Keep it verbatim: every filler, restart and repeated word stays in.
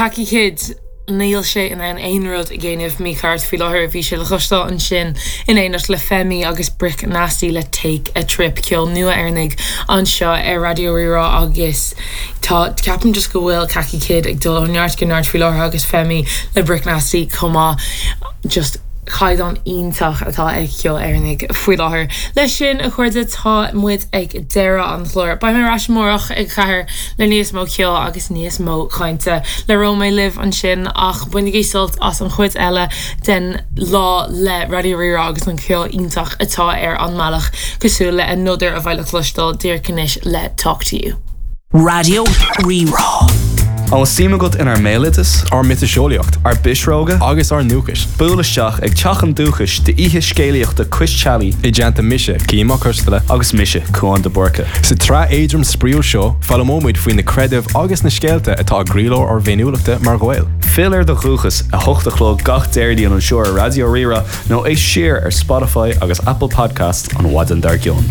Khaki Kid níl sé in ann aon rud a dhéanamh mícheart faoi láthair bhí sé le cloisteáil ansin in éineacht le Femi agus Brick Nasty le Take a Trip ceol nua Éireannach anseo ar Raidió Rí-Rá agus tá ceapaim just go bhfuil Khaki Kid ag dul ó neart go neart faoi láthair agus Femi le Brick Nasty chomh maith just caighdeán iontach atá ag ceol Éireannach faoi láthair. Leis sin a chairde tá muid ag deireadh an chláir. Beidh mé ar ais amárach ag ceathair le níos mó ceoil agus níos mó cainte le Romé libh ansin ach bainigí sult as an chuid eile den lá le Raidió Rí-Rá agus an ceol iontach atá ar an mbealach cosúil le Another a bheidh le cloisteáil díreach anois le Talk to You. Raidió Rí-Rá. An bhfuil suim agat inár mbéaloideas, ár miotaseolaíocht, ár bpisreoga agus ár ndúchais. Buail isteach ag Teach an Dúchais d'oíche scéalaíochta Cois Teallaigh i dteannta mise Cian Mac Coisteala agus mise Cuán de Búrca. Sa tsraith éadrom spraíúil seo foghlaimeoimid faoi na creidimh agus na scéalta atá i gcroílár ár bhféiniúlachta mar Ghaeil. Fill ar do dhúchas a hocht a chlog gach Déardaoin anseo ar Raidió Rí-Rá nó éist siar ar Spotify agus Apple Podcast an mhaidin dár gcionn.